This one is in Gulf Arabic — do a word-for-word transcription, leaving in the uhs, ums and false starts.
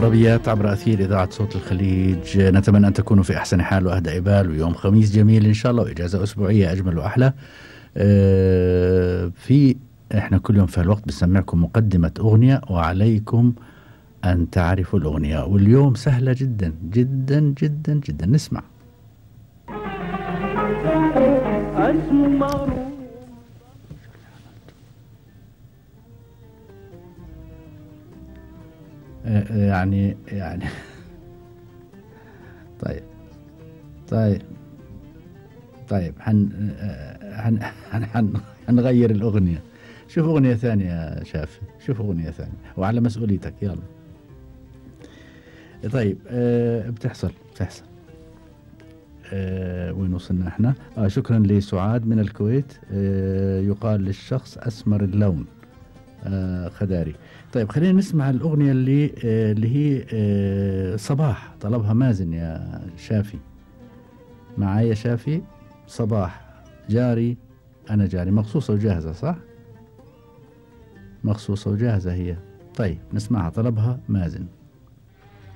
طربيات عبر أثير إذاعة صوت الخليج. نتمنى أن تكونوا في أحسن حال وأهدى إبال، ويوم خميس جميل إن شاء الله، وإجازة أسبوعية أجمل وأحلى. أه في إحنا كل يوم في الوقت بنسمعكم مقدمة أغنية وعليكم أن تعرفوا الأغنية، واليوم سهلة جدا جدا جدا جدا. نسمع. يعني يعني طيب طيب طيب حن حن حن حنغير الأغنية. شوف أغنية ثانية يا شافي، شوف أغنية ثانية وعلى مسؤوليتك. يلا طيب. أه بتحصل بتحصل أه وين وصلنا احنا؟ آه شكرا لسعاد من الكويت. أه يقال للشخص أسمر اللون. آه خداري. طيب خلينا نسمع الأغنية اللي آه اللي هي آه صباح طلبها مازن يا شافي. معايا شافي. صباح جاري أنا جاري، مخصوصة وجاهزة صح؟ مخصوصة وجاهزة هي. طيب نسمعها، طلبها مازن.